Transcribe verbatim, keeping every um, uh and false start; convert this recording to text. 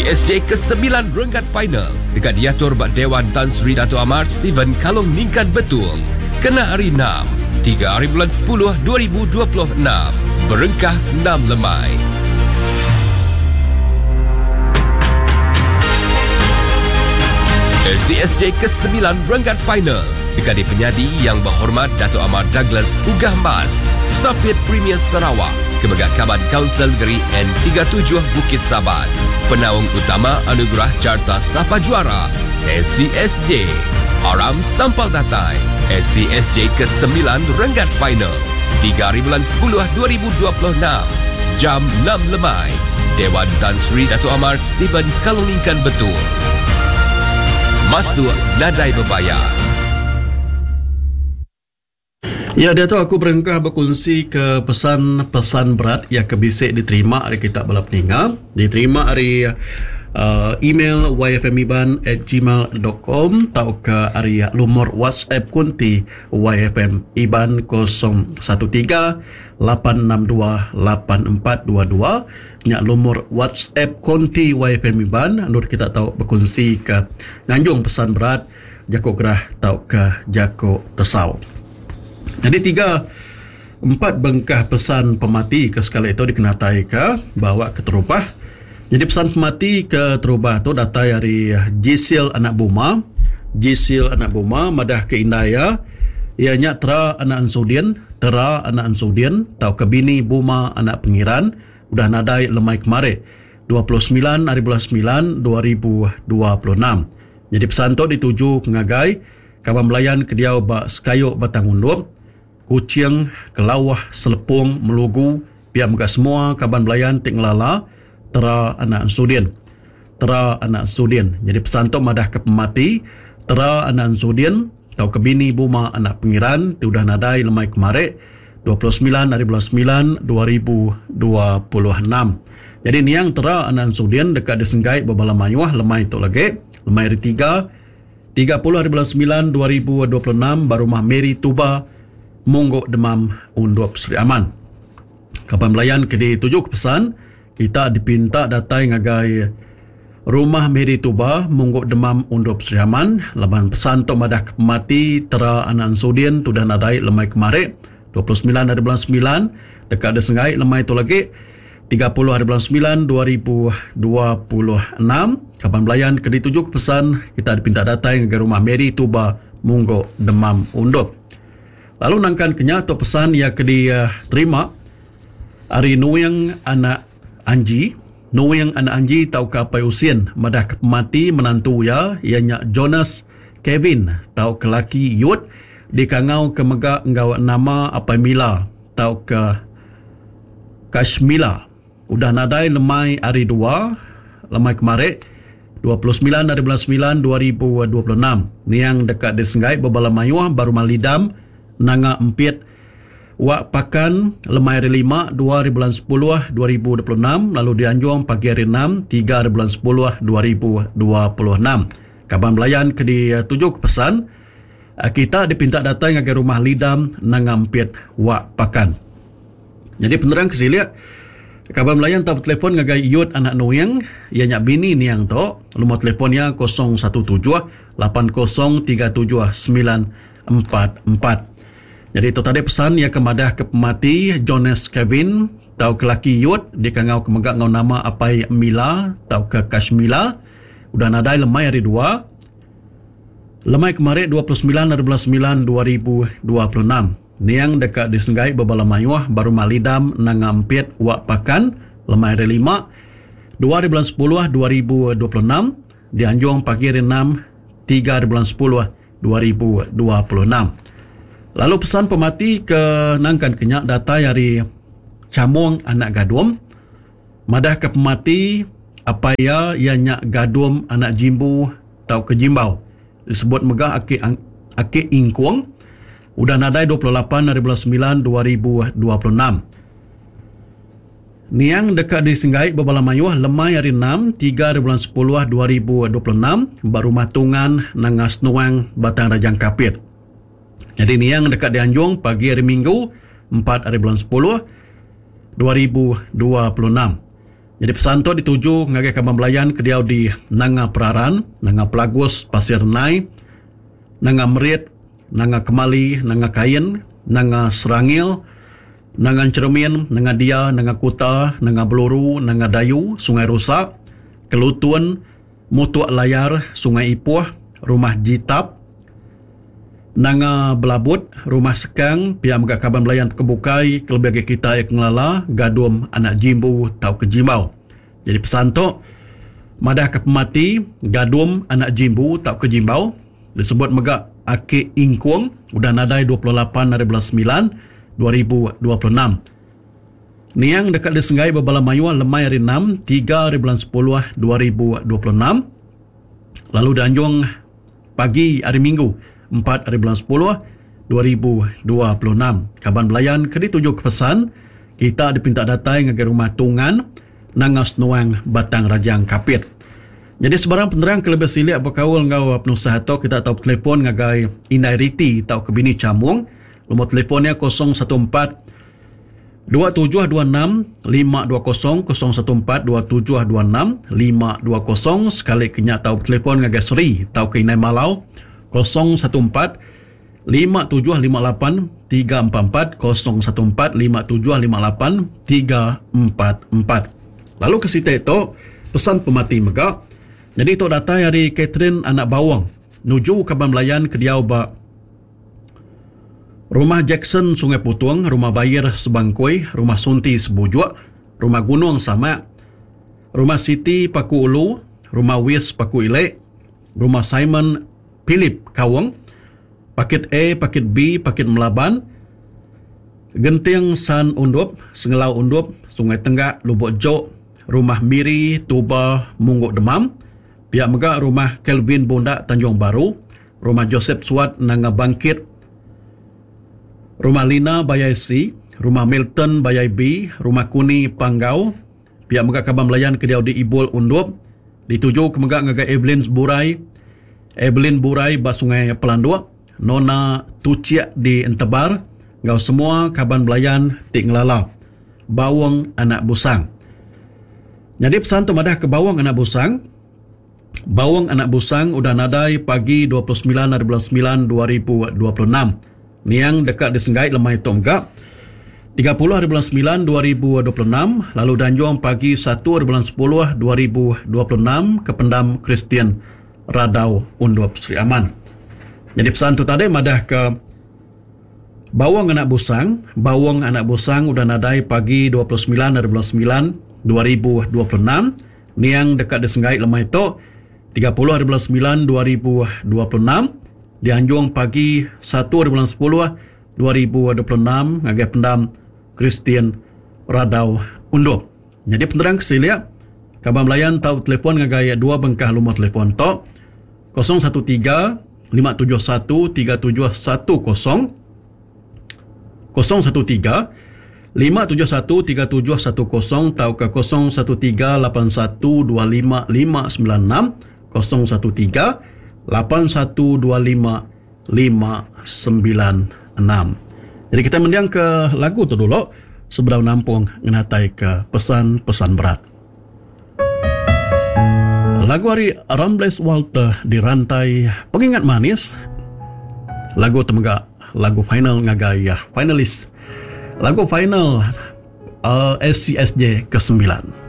S C S J kesembilan renggat final dekat diatur bak Dewan Tan Sri Dato' Amar Stephen Kalong Ningkan Betung. Kena hari enam, tiga hari bulan sepuluh dua ribu dua puluh enam. Berengkah enam lemai. S C S J kesembilan renggat final dekat di penyadi yang berhormat Dato' Amar Douglas Uggah Mas, Safit Premier Sarawak, Kemegat Kaban Kaunsil Negeri N tiga puluh tujuh Bukit Saban. Penaung utama Anugerah Carta Sapa Juara S C S J. Aram Sampal Datai S C S J kesembilan renggat final tiga hari bulan sepuluh dua ribu dua puluh enam jam enam lemai. Dewan Tan Sri Dato' Amar Stephen Kalong Ningkan Betul. Masuk nadai berbayar. Ya, dia tu aku berengkah berkongsi ke pesan-pesan berat yang kebisik diterima hari kita bala peninga. Diterima hari, uh, email y f m iban at gmail dot com atau ke hari lumur WhatsApp kunti Y F M Iban kosong satu tiga lapan enam dua lapan empat dua dua. Nyak lumur WhatsApp konti Y F M Iban nur kita tahu berkongsi ke nganjung pesan berat jako gerah tau ke jako tesau. Jadi tiga empat bengkah pesan pemati ke sekali itu dikenatai ke bawa ke terubah. Jadi pesan pemati ke terubah tu datai dari Jisil anak Buma. Jisil anak Buma madah ke Indaya ia nya tera anak Ansudin, tera anak Ansudin tau ke bini Buma anak Pengiran udah nadai lemai kemari dua puluh sembilan hari bulan sembilan dua ribu dua puluh enam. Jadi pesan tu dituju ke ngagai kaban belayan ke diau ba Sekayuk Batang Undop, Kuching, Kelawah, Selepung, Melugu, pihak mega semua kaban belayan ti ngelala tera anak Ansudin. Tera anak Ansudin. Jadi pesan tu madah ke pemati tera anak Ansudin tau ke bini Buma anak Pengiran ti udah nadai lemai kemari dua puluh sembilan hari bulan sembilan dua ribu dua puluh enam. Jadi niang tera anak Ansudin dekat disenggai berbala mayuh lemai tu lagi lemai hari tiga tiga puluh hari bulan sembilan dua ribu dua puluh enam baru rumah Mary Tuba Mungguk Demam Undop Seri Aman. Kapan belayan ke dituju ke pesan kita dipinta datai ngagai rumah Mary Tuba Mungguk Demam Undop Seri Aman laban pesan tu madah ke pemati tera anak Ansudin tu dah nadai lemai kemari dua puluh sembilan hari bulan sembilan dekat ada sengai lemai tu lagi tiga puluh hari bulan sembilan dua ribu dua puluh enam. Kapan belayan ke dituju ke pesan kita dipinta datai ngagai rumah Mary Tuba Mungguk Demam Undop. Lalu nangkan kenya tu pesan yang ke diterima hari Nuing anak Anji. Nuing anak Anji tau ke Apai Usin madah ke pemati menantu ya ianya Jonas Kevin tau ke laki Yud dikangau ke mega enggau nama Apai Mila tau ke Kashmila. Udah nadai lemai hari dua lemai kemarin dua puluh sembilan hari bulan sembilan dua ribu dua puluh enam. Niang dekat di Senggai berbala mayuh baru malidam nanga empit wak pakan lemai hari lima dua hari bulan sepuluh dua ribu dua puluh enam lalu dianjung pagi hari enam tiga hari bulan sepuluh dua ribu dua puluh enam. Kaban belayan ke dituju ke pesan kita dipinta datang ngagai rumah Lidam nanga empit wak pakan. Jadi penerang kesilik kaban belayan tak telefon ngagai Yud anak Nuing ia nyak bini niang tu nomor telefonnya kosong satu tujuh lapan kosong tiga tujuh sembilan empat empat. Jadi itu tadi pesan yang kemadah ke pemati Jonas Kevin tau ke laki Yud dikangau ke megak ngau nama Apai Mila tau ke Kashmila udah nadai lemai hari dua lemai kemarin dua puluh sembilan hari bulan sembilan dua ribu dua puluh enam. Niang dekat disenggai berbala mayuh baru malidam nangampit wak pakan lemai hari lima dua hari bulan sepuluh dua ribu dua puluh enam dianjung pagi hari enam tiga hari bulan sepuluh dua ribu dua puluh enam. Lalu pesan pemati ke nangkan kenyak datai hari Camung anak Gadum madah ke pemati apa ya ia nyak Gadum anak Jimbu tau ke Jimbau disebut megah aki aki Ingkuang udah nadai dua puluh lapan hari bulan sembilan dua ribu dua puluh enam. Niang dekat di Senggai berbala mayuh lemai hari enam tiga hari bulan sepuluh dua ribu dua puluh enam baru rumah Tungan Nangas Nuang Batang Rajang Kapit. Jadi niang dekat di Anjung pagi hari Minggu empat hari bulan sepuluh dua ribu dua puluh enam. Jadi pesan tu dituju ngagai kaban belayan ke diau di Nanga Peraran, Nanga Pelagus, Pasir Nai, Nanga Merit, Nanga Kemali, Nanga Kain, Nanga Serangil, Nanga Cermin, Nanga Dia, Nanga Kuta, Nanga Beluru, Nanga Dayu, Sungai Rusak, Kelutun, Mutuk Layar, Sungai Ipuh, Rumah Jitap, Nanga Belabut, Rumah Sekang, pihak mega kaban belayan kebukai, kelebih agi kita yang ngelala, Gadum Anak Jimbu tau ke Jimbau. Jadi pesan tu madah ke pemati Gadum Anak Jimbu tau ke Jimbau disebut mega Aki Ingkung udah nadai dua puluh lapan hari bulan sembilan dua ribu dua puluh enam. Niang dekat di Senggai berbala mayuh lemai hari enam tiga hari bulan sepuluh dua ribu dua puluh enam. Lalu dianjung pagi hari Minggu empat hari bulan sepuluh dua ribu dua puluh enam. Kaban belayan ke dituju ke pesan kita dipinta datai ngagai rumah Tungan Nangas Nuang Batang Rajang Kapit. Jadi sebarang penerang ke lebih silik berkaul ngau penusah atau kita tahu telefon ngagai Indai Riti atau ke bini Camung. Nombor telefonnya kosong satu empat dua tujuh dua enam lima dua kosong, kosong satu empat dua tujuh dua enam lima dua kosong. Sekali kenya tahu telefon ngagai Seri atau ke Indai Malau kosong satu empat lima tujuh lima lapan tiga empat empat, kosong satu empat lima tujuh lima lapan tiga empat empat. Lalu ke situ itu pesan pemati mega. Jadi itu datai hari Catherine anak bawang nuju kaban belayan ke diau ba Rumah Jackson Sungai Putung, Rumah Bayir Sebangkui, Rumah Sunti Sebujuk, Rumah Gunung Samak, Rumah Siti Paku Ulu, Rumah Wis Paku Ilek, Rumah Simon Philip Kawang, Paket A, Paket B, Paket Melaban, Genting San Undup, Sengelau Undup, Sungai Tenggak, Lubuk Jok, Rumah Miri, Tuba, Mungguk Demam, pihak mega Rumah Kelvin Bundak Tanjung Baru, Rumah Joseph Suat Nanga Bangkit, Rumah Lina Bayai C, Rumah Milton Bayai B, Rumah Kuni Panggau, pihak mega kaban belayan ke diau di Ibul Undup, dituju ke mega ngagai Evelyn Burai, Evelyn Burai ba Sungai Pelanduk, Nona Tuciak di Entebar, ngau semua kaban belayan ti ngelala Bawang Anak Busang. Jadi pesan tu madah ke Bawang Anak Busang. Bawang Anak Busang udah nadai pagi dua puluh sembilan hari bulan sembilan dua ribu dua puluh enam. Niang dekat di Senggai lemai tu mega tiga puluh hari bulan sembilan dua ribu dua puluh enam, lalu danjung pagi satu hari bulan sepuluh dua ribu dua puluh enam ke pendam Kristian Radau Undup Sri Aman. Jadi pesan tu tadi madah ke Bawang Anak Busang, Bawang Anak Busang udah nadai pagi dua puluh sembilan hari bulan sembilan dua ribu dua puluh enam, niang dekat di Senggai lemai tu tiga puluh hari bulan sembilan dua ribu dua puluh enam, dianjung pagi satu hari bulan sepuluh dua ribu dua puluh enam ngagai pendam Kristian Radau Undup. Jadi penerang kesilia kaban belayan tau telefon ngagai dua bengkah lumur telefon tu kosong satu tiga lima tujuh satu tiga tujuh satu kosong, kosong satu tiga lima tujuh satu tiga tujuh satu kosong tau ke kosong satu tiga lapan satu dua lima lima sembilan enam, kosong satu tiga lapan satu dua lima lima sembilan enam. Jadi kita mendiang ke lagu tu dulu sebelum nampung ngenatai ke pesan-pesan berat. Lagu hari Rambles Walter dirantai Pengingat Manis. Lagu temega lagu final ngagai ya, finalis. Lagu final, uh, S C S J kesembilan.